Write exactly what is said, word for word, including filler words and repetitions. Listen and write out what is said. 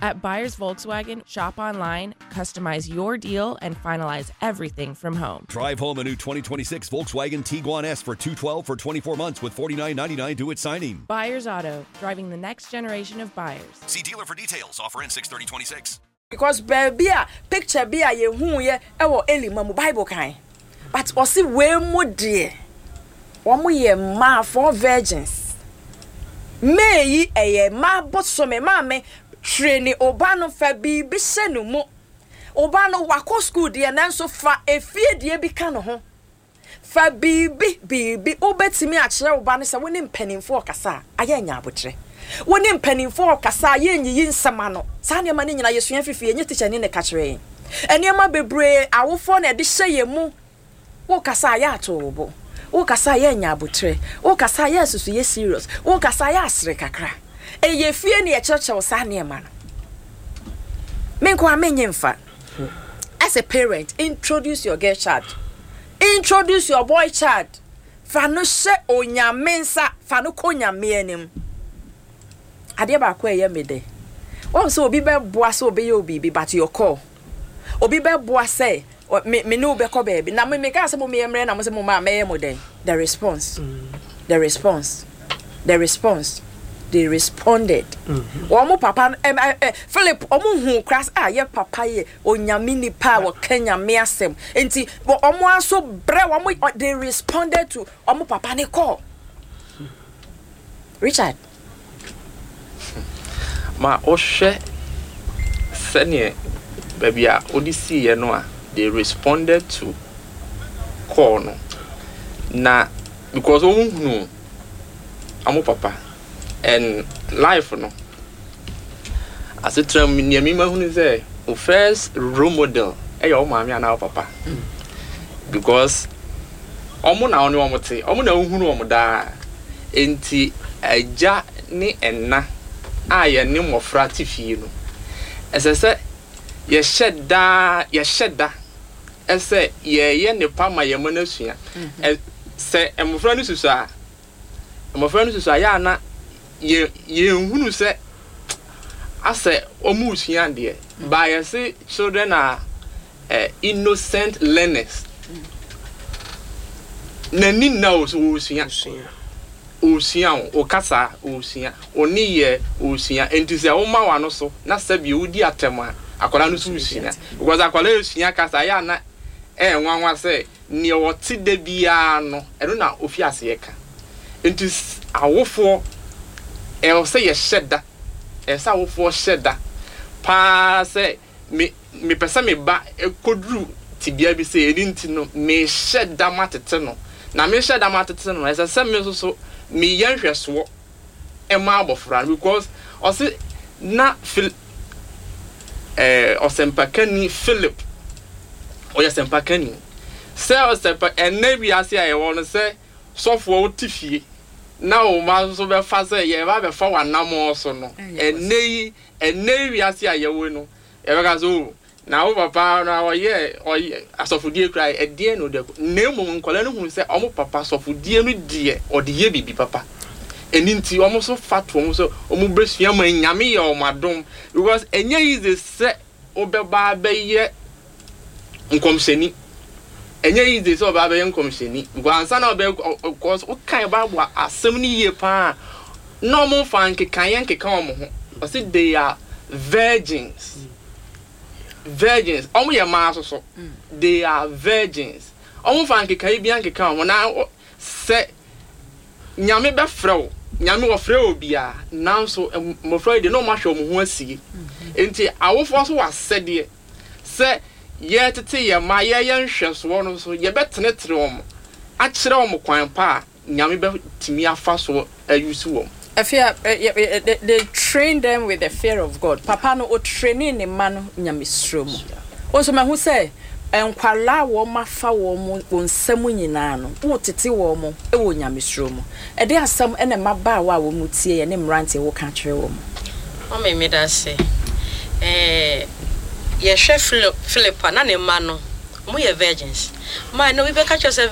At Buyers Volkswagen, shop online, customize your deal, and finalize everything from home. Drive home a new twenty twenty-six Volkswagen Tiguan S for two hundred twelve for twenty-four months with forty-nine ninety-nine due at signing. Buyers Auto, driving the next generation of buyers. See dealer for details. Offer ends six thirty twenty-six. Because baabi a picture bi a yɛhu yɛ ɛwɔ Elima mu, Bible kan, but ɔsi wei mu deɛ, wɔn yɛ mmaa, four virgins. May yi ɛyɛ mmaa bosome. Maame train ɔba no, fa biribi hyɛ ne mu. Ɔba no wakɔ school deɛ, nanso fa efie deɛ bi ka ne ho. Fa biribi biribi wobɛtumi akyerɛ wo ba no sɛ wo ne mpanimfoɔ ɔkasa a, ayɛ anya abotrɛ. Wo ne mpanimfoɔ ɔkasa a, yɛnyiyi nsɛm ano. Saa nneɛma no nyinaa yɛsua fifi, ɛnyɛ tikya ni ne ka kyerɛ yɛn. Nneɛma bebree awofoɔ na ɛde hyɛ yɛn mu. Wokasa a, yɛ ato wo bo. Wokasa a, yɛ anya abotrɛ. Wokasa a, yɛ asusu, yɛ serious. Wokasa a, yɛ asere kakra. Ɛyɛ fie ne yɛkyerɛkyerɛ wo saa nneɛma no. Me nko a menye mfa. As a parent, introduce your girl child, introduce your boy child. Fa no hyɛ Onyame nsa, fa no kɔ Onyame anim. Adeɛ baako a ɛyɛ me dɛ wɔn sɛ obi bɛboa sɛ obɛyɛ wo biribi, but your call, obi bɛboa sɛ ɔ- me me ne wo bɛkɔ baabi na me meka sɛ mo meyɛ mmerɛ na mo sɛ mo ma mɛyɛ mo dɛn. The response, the response, the response, they responded. Wɔn mo papa no, ɛm ɛ ɛ Philip, wɔn hu kora sɛ a yɛ papa yɛ Onyame nipa a wɔka Nyame asɛm, nti wɔn aso brɛ wɔn. They responded to wɔn papa ne call. Richard. Ma wohwɛ sɛneɛ baabi a wode siiɛ no a, they responded to call no na because wɔn hunu ɔmo papa and life no asetena mu. Nea mima hunu sɛ o, first role model ɛyɛ wo maame anaa wo papa, because ɔmo na ɔne ɔmo te, ɔmo na wohunu ɔmo daa. Nti agya ne ɛna a yɛne mmɔfra te fie no, ɛsɛ sɛ yɛhyɛ daa, yɛhyɛ da ɛsɛ yɛyɛ nipa ma yɛn mo no asua. Ɛ sɛ mmɔfra no susu a, mmɔfra no susu a, yɛ ana yɛ yɛnhunu sɛ asɛ ɔmo resua adeɛ ba. Yɛse children are uh, innocent learners. N'ani nna o so ɔresua, ɔresua o, ɔkasa ɔresua, ɔne yɛ ɔresua. Nti sɛ ɔma w'ano so na sɛbi ɔdi atɛm a, akwadaa no so resua, because akwadaa resua kasa. Yɛ ana ɛyɛ nwanwa sɛ nea ɔte da biara no, ɛno na ofi aseɛ ka. Nti s- awofoɔ, ɛwɔ sɛ yɛhyɛ da, ɛwɔ sɛ awofoɔ hyɛ da paa sɛ me mepɛ sɛ me ba ɛkɔduru tibea bi sɛ ɛni, nti no mehyɛ da ma tete no, na mehyɛ da ma tete no, ɛsɛ sɛ me nso so meyɛ nhwɛsoɔ ɛma abɔfra no, because ɔse na Phil ɛɛ ɔsɛmpakani Philip ɔyɛ sɛmpakani sɛ ɔsɛmpa. Ɛnɛ wiase a yɛwɔ no, sɛ sɔfoɔ wote fie na wo ma nso bɛfa sɛ yɛba bɛfa w'anammɔn so no, ɛnɛ yi, ɛnɛ yi wiase a yɛwɔ no, yɛbɛka sɛ o, na wo papa na ɔyɛ ɔyɛ asɔfodie kura, ɛdeɛn na ɔde akɔ? Na mmom nkɔla no hu sɛ ɔmo papa asɔfodie no deɛ, ɔde yɛ biribi papa. Ɛni nti ɔmo nso fa to ɔmo sɛ ɔmo bɛsua ma Nyame yɛ ɔmo adom, because ɛnyɛ easy sɛ wobɛba abɛyɛ nkɔmhyɛni. Ɛnyɛ easy sɛ ɔbɛba abɛyɛ nkɔmhyɛni, because ansa na ɔbɛyɛ, because wokan Bible asɛm no yie paa na ɔmo nfa nkekaeɛ nkeka ɔmo ho. Ɔsi they are virgins, virgins. Ɔmo yɛ mmaa soso, they are virgins. Ɔmo nfa nkekaeɛ bi ankeka ɔmo na ɔ- sɛ Nyame bɛfrɛ wo, Nyame wɔfrɛ wo biara, nanso ɛm- mmɔfra yi deɛ, na ɔmo ahwɛ ɔmo ho asie. Nti awofoɔ nso wɔ asɛdeɛ sɛ yɛtete yɛn mma, yɛyɛ nhwɛsoɔ no nso, yɛbɛtenetene wɔn akyerɛ wɔn kwan pa a Nyame bɛtumi afa so ayusu wɔn. Afia, eh, eh, they, they train them with the fear of God. Papa no o training ne ma no nyamesuro mu. Wo nso mahu sɛ nkwalaa a wɔn afa wɔn mu wɔn nsam nyinaa no, wotete wɔn mo wɔ nyamesuro mu. Ɛde asɛm ɛna mmabaawa a wɔn mu tie yɛ ne mmeranteɛ wɔka kyerɛ wɔn. Mame, meda ase. ɛɛ yɛhwɛ Philip Philip a na ne mma no, ɔmo yɛ virgins. Maa na obi bɛka kyerɛ sɛ